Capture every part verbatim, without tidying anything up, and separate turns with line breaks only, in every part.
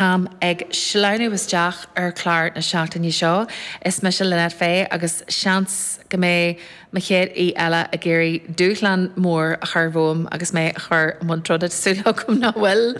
Táim ag sleamhnú isteach ar chlár na seachtaine seo. Is mise Lynette Fay agus seans go mbeidh mo chéad aoi eile ag iarraidh dúshlán mór a chur romham agus mé a chur i mbun troda súil agam nach bhfuil.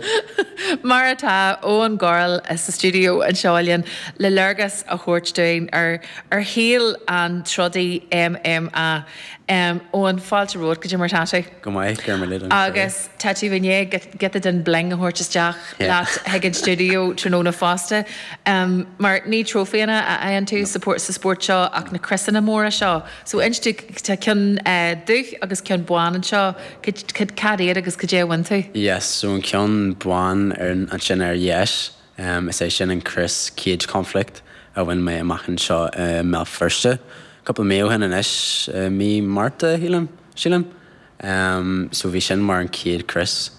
Mar atá Eoghan Gorrell sa stiúideo anseo linn le léargas a thabhairt dúinn ar ar shaol an trodaí MMA. Um, Eoghan fáilte romhat cad é mar tá tú.
Go maith gur le
Agus tá tú i ndiaidh giota den bling a thabhairt isteach leat chuig an stiúideo tráthnóna fosta. Um, mar ní trófaíanna a fhaigheann tú support sa spórt seo ach na criosanna móra seo. So inis tá ceann uh, dubh agus ceann bán anseo cad iad agus cad é bhain tú?
Yes, so an ceann bán ar ansin ar dheis um, is é sin an crios Cage Conflict a bhain mé amach anseo uh, Mbéal Feirste. Cúpla mí ó shin anois uh, mí Márta sílim sílim. Um, so bhí sin mar an chéad crios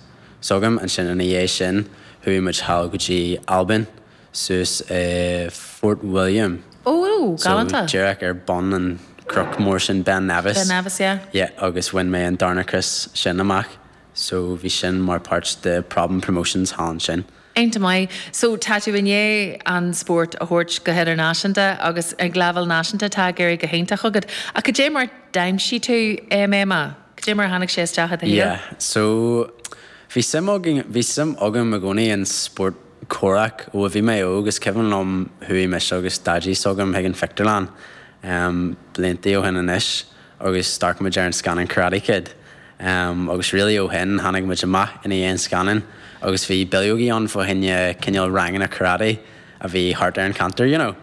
s'agam ansin ina dhiaidh sin chuaigh muid thall go dtí Albain suas uh, Fort William.
Ó galánta.
So díreach ar bun an cnoc mór sin Ben Nevis.
Ben Nevis, yeah.
Yeah, agus bhain mé an darna crios sin amach, so bhí sin mar páirt de Problem Promotions thall ansin.
Iontach maith, so tá tú i ndiaidh an spórt a thabhairt go hidirnáisiúnta agus ag leibhéal náisiúnta tá ag éirí go hiontach agat. Ach cad é mar d'aimsigh tú MMA? Cad é mar tháinig sé isteach i do shaol?
Yeah, so bhí suim agam bhí suim agam i gcónaí an spórt comhraic ó bhí mé óg is cuimhin liom chuaigh mise agus daidí s'agam chuig an phictiúrlann um, blianta ó shin anois agus d'amharc muid ar an scannán Karate Kid. Um, agus really ó shin tháinig muid amach ina dhiaidh an scannán agus bhí bileogaí ann fá choinne cineál ranganna karate a bhí thart ar an cheantar, you know.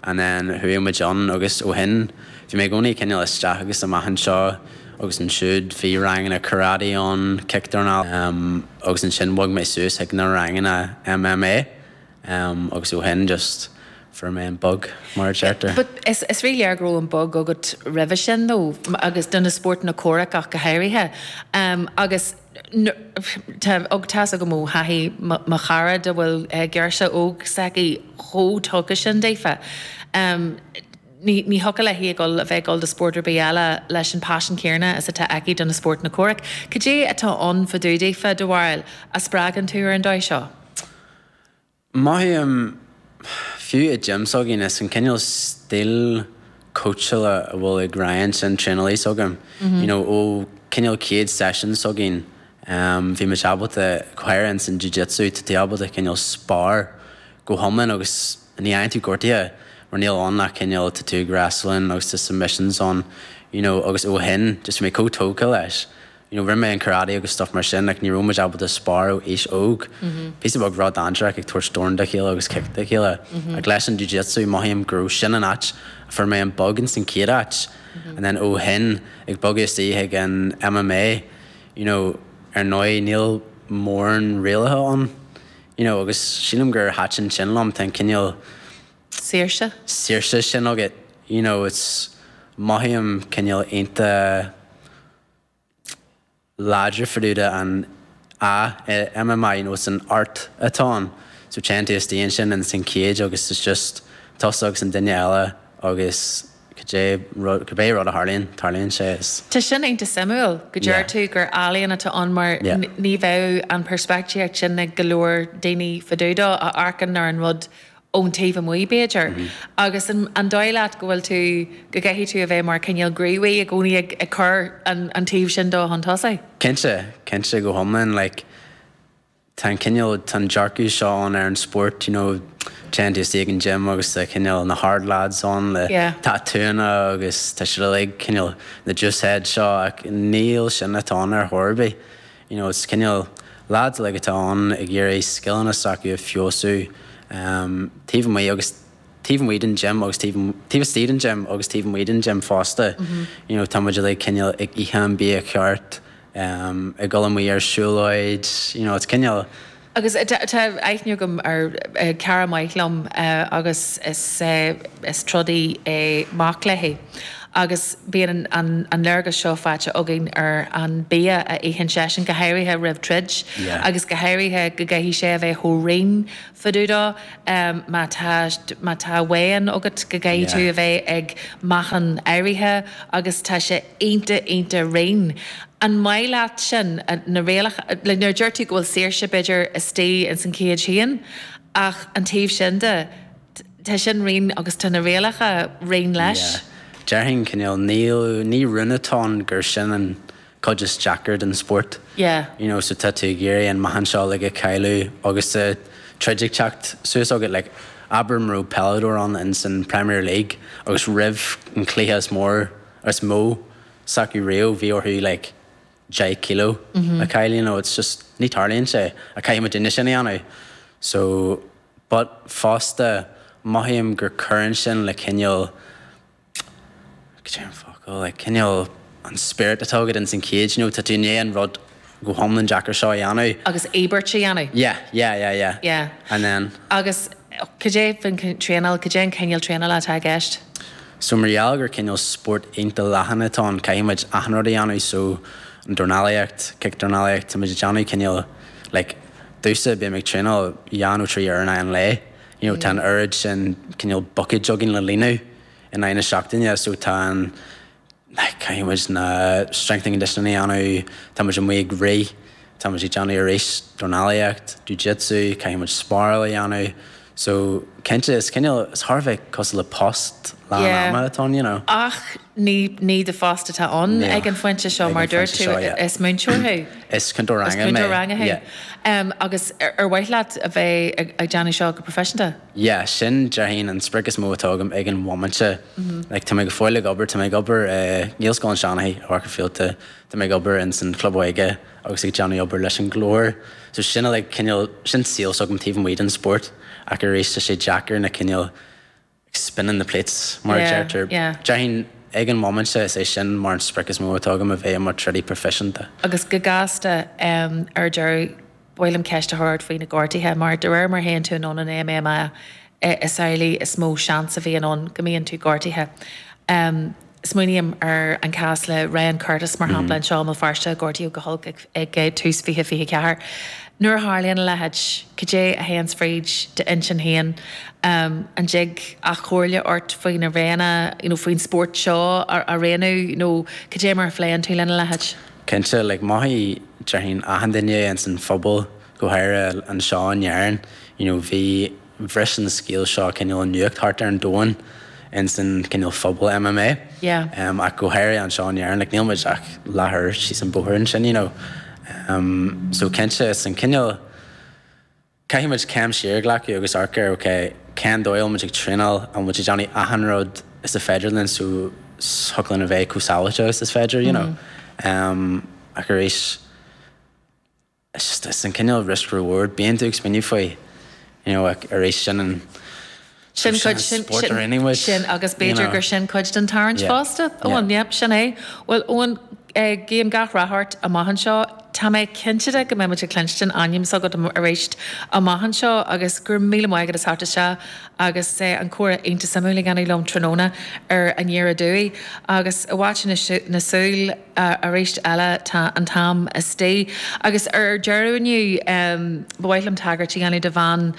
And then chuaigh muid ann agus ó shin bhí mé i gcónaí cineál isteach agus amach anseo agus ansiúd bhí ranganna karate ann cictorná um, agus ansin bhog mé suas ag na ranganna MMA um, agus ó shin just fuair mé an bug mar a deirtear.
But is, is rí-léir go raibh an bug agat roimhe sin nó agus do na spórtanna comhraic ach go háirithe. Um, agus tá og tá go mó thaithí mo chara a bhfuil girseach óg s'aici chomh tugtha sin daofa. Um, ní ní thiocfadh léi a bheith a bheith dul do spórt ar bith eile leis an passion céanna is atá aici do na spórtanna comhraic. Cad é atá ann fá dtaobh daofa do bharúil a spreagann tú ar an dóigh seo?
Mothaím fiú i gym s'againn is an cineál stíl cóitseála a bhfuil ag Ryan sin traenálaí s'agam. You know, ó cineál céad session s'againn um, bhí muid ábalta chuir san jiu-jitsu tá tú ábalta cineál spar go hiomlán agus ní fhaigheann tú gortaithe mar níl ann ach cineál tá tú wrestling agus tá submissions ann you know, agus ó shin just mé chomh tógtha leis. You know, rinne mé an karate agus stuff mar sin, like, ní raibh muid ábalta spar ó aois óg. Píosa beag rud dainséarach ag tabhairt dorn dá chéile agus kick dá chéile. Ach leis an jiu-jitsu mothaím go raibh sin an áit a fuair mé an bug in san chéad áit. And then ó shin ag bogadh istigh ag an MMA, you know, ar ndóigh níl mórán rialacha ann. You know, agus sílim gur thaitin sin liom tá an cineál
Saoirse?
saoirse sin agat. You know, it's mothaím cineál iontach láidir fá dtaobh an a MMA you know, it's an art atá ann. So téann tú istigh ansin in san cage agus it's just tusa agus an duine eile agus cibé rud cibé rud a tharlaíonn tarlaíonn sé is.
Tá sin iontach suimiúil go deir
Yeah.
tú gur ealaíon atá ann mar
Yeah.
n- ní bheadh an peirspictíocht sin ag go leor daoine fá dtaobh dó a amharcann ar an rud ón taobh amuigh b'fhéidir.
Mm-hmm.
Agus an, an dóigh leat go bhfuil tú go gcaithfidh tú a bheith mar cineál gníomhaí i gcónaí ag, ag cur an, an taobh sin dó chun tosaigh.
Cinnte, cinnte go hiomlán like, tá an cineál tá an dearcadh seo ann ar an spórt, you know, téann tú isteach an gym agus tá cineál na hard lads ann le
Yeah.
tatúnna agus tá siad uilig cineál na juice head seo ach níl sin atá ann ar chor ar bith. You know, it's cineál lads like atá ann ag iarraidh scileanna s'acu a fheabhsú um, taobh amuigh agus taobh amuigh den gym agus taobh taobh istigh den gym agus taobh amuigh den gym fosta. You know, tá muid uilig cineál ag ithe an bia ceart, um, ag dul amuigh ar siúlóid, you know, it's cineál
Agus tá tá aithne agam ar eh, cara maith liom eh, agus is, eh, is trodaí é mac léi. Agus bíonn an, an, an léargas seo faighte againn ar an bia a itheann seisean go háirithe roimh troid
Yeah.
agus go háirithe go gcaithfidh sé a bheith chomh righin fá dtaobh dó um, má tá má tá weigh-in agat go gcaithfidh tú
Yeah.
a bheith ag meáchan áirithe agus tá sé iontach iontach righin. An maith leat sin na rialacha le nuair deir tú go bhfuil saoirse b'fhéidir istigh in san cage féin, Ach an taobh sin de, tá sin righin agus tá na rialacha righin leis.
Déarfainn cineál níl ní rún atá ann gur sin an cuid is deacair den spórt.
Yeah.
You know, so tá tú ag iarraidh an meáchan seo like a chailleadh agus tá troid ag teacht suas agat like abair mura raibh peileadóir ann in san Premier League agus roimh an cluiche is mór is mó s'acu riamh bhí orthu like deich kilo a chailleadh, you know, it's just ní tarlaíonn sé a caithfidh muid duine sin a dhéanamh. So but fosta mothaím gur cuireann sin le cineál cad é an focal like cineál an spirit atá agat in san cage, you know, tá tú i ndiaidh an rud go hiomlán deacair seo a dhéanamh.
Agus íobairt a dhéanamh.
Yeah, yeah, yeah, yeah.
Yeah.
And then
Agus cad é faoin traenáil, cad é an cineál traenála atá i gceist?
So mar gheall gur cineál spórt iontach leathan atá ann, caithfidh muid achan rud a dhéanamh so an dornálaíocht, cic-dornálaíocht, tá muid ag déanamh cineál like domhsa bím ag traenáil dhá nó trí uair in aghaidh an lae. You know, tá an oiread sin cineál buckets againn le líonadh in aghaidh na seachtaine, so tá an like caithfidh muid na strength and conditioning a dhéanamh, tá muid amuigh ag rith, tá muid ag déanamh arís dornálaíocht, jiu-jitsu, caithfidh muid sparáil a dhéanamh. So cinnte is cineál is thar a bheith cosúil le post lán
Yeah.
ama atá ann, you know.
Ach ní ní do phost atá ann
Níl.
ag an phointe seo
Ag
mar
an
dúirt
phointe
tú
seo, yeah.
is múinteoir thú.
Is cúntóir
Is
ranga mé.
cúntóir ranga thú.
Yeah.
Um, agus ar ar mhaith leat a bheith ag ag déanamh seo go proifisiúnta?
Yeah, sin déarfainn an sprioc is mó atá agam ag an bhomaite. Like, tá mé go fóill ag obair, tá mé ag obair uh, Gaelscoil an Seanchaí i Bharr Fíolta, tá mé ag obair in san Club Óige agus ag déanamh obair leis an nGlór. So sin like, cineál sin saol s'agam taobh amuigh den spórt ach arís tá sé deacair na cineál spinning the plates mar a
Yeah,
deirtear.
yeah.
Déarfainn ag an bhomaite is é sin mar an sprioc is mó atá agam a bheith mar trodaí proifisiúnta.
Agus go gasta um, ar deireadh ba mhaith liom ceist a chur ort faoi na gortuithe, mar de réir mar a théann tú anonn in MMA is amhlaidh is mó seans a bhíonn ann go mbíonn tú gortaithe. Um, Smaoiním ar an cás le Ryan Curtis mar shampla anseo i mBéal Feirste gortaíodh go holc ag, ag tús fiche fiche ceathair. Nuair a tharlaíonn a leithéid, cad é a théann fríd d'intinn féin um, an dtig ach comhairle ort faoi na réanna, you know, faoin spórt seo a, a roghnú nó cad é mar a phléann tú lena leithéid.
Cinnte like, mothaigh déarfainn achan duine in san phobal go háirithe anseo in Éirinn, you know, bhí bhris an scéal seo cineál an nuacht thart ar an domhan in san cineál phobal MMA.
Yeah.
Um, ach go háirithe anseo in Éirinn, like, níl muid ach leathuair síos an bóthar ansin, you know. Um, so cinnte is an cineál caithfidh muid céim siar a ghlacadh agus amharc ar okay, cén dóigh muid ag traenáil an muid ag déanamh achan rud is a féidir linn so thig linn a bheith chomh sábháilte is is féidir, you know. Um, ach arís it's just it's an cineál risk reward bíonn tú ag smaoineamh faoi you know, ach arís sin an
Sin
sin
cuid sin
spórt a rinne muid,
sin agus
you
b'fhéidir
know.
gur sin cuid den tarraingt
Yeah.
fosta.
Yeah.
Ó yep, sin é. Well Eoin eh, guím gach rath ort amach anseo Tá mé cinnte de go mbeimid ag cluinstin ainm s'agat arís amach anseo agus gur míle maith agat as theacht isteach agus eh, an comhrá iontach suimiúil a dhéanamh liom tráthnóna ar Aniar Aduaidh agus i bhfad na súl arís eile tá an t-am istigh agus ar deireadh inniu um, ba mhaith liom tagairt a dhéanamh do bhean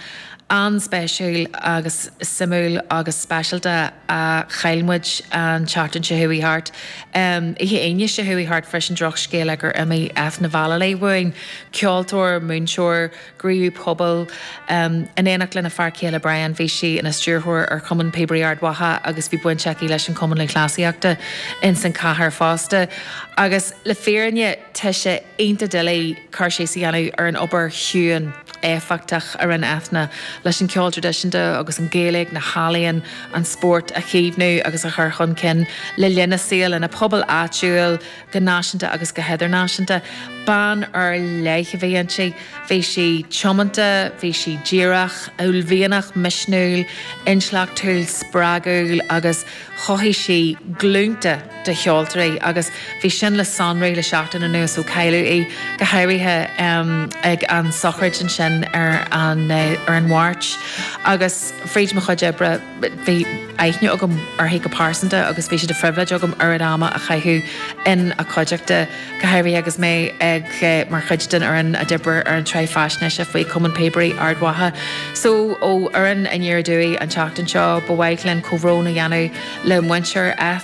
an-speisialta agus suimiúil agus speisialta a chaill muid an tseachtain seo chuaigh thart. Um, Oíche Aoine seo chuaigh thart freisin drochscéal gur imigh Eithne Vallely uainn, ceoltóir, múinteoir, gníomhaí pobail, um, in éineacht lena fear céile Brian bhí sí ina stiúrthóir ar Chumann Píobairí Ard Mhacha agus bhí baint aici leis an Cumann Lúthchleasaíochta in san cathair fosta. Agus le fírinne tá sé iontach doiligh cur síos a dhéanamh ar an obair chiúin éifeachtach a rinne Eithne leis an ceol traidisiúnta agus an Ghaeilge na healaíona an spórt a chaomhnú agus a chur chun cinn le linn a saoil ina pobal áitiúil go náisiúnta agus go hidirnáisiúnta. Bean ar leith a bhí inti, bhí sí tiomanta, bhí sí díreach, uaillmhianach misniúil, intleachtúil spreagúil agus chothaigh sí glúnta de cheoltóirí agus bhí sin le sonrú le seachtain anuas ó cailleadh í go háirithe um, ag an sochraid ansin ar an uh, ar an Mháirt agus fríd mo chuid oibre bhí aithne agam uirthi go pearsanta agus bhí sé de phribhléid agam oiread ama a chaitheamh ina cuideachta go háirithe agus mé ag eh, mar chuid den fhoireann a d'oibrigh ar an tsraith faisnéise faoi Cumann Píobairí Ard Mhacha. So ó fhoireann Aniar Aduaidh an tseachtain seo ba mhaith linn comhbhrón a dhéanamh le muintir Eithne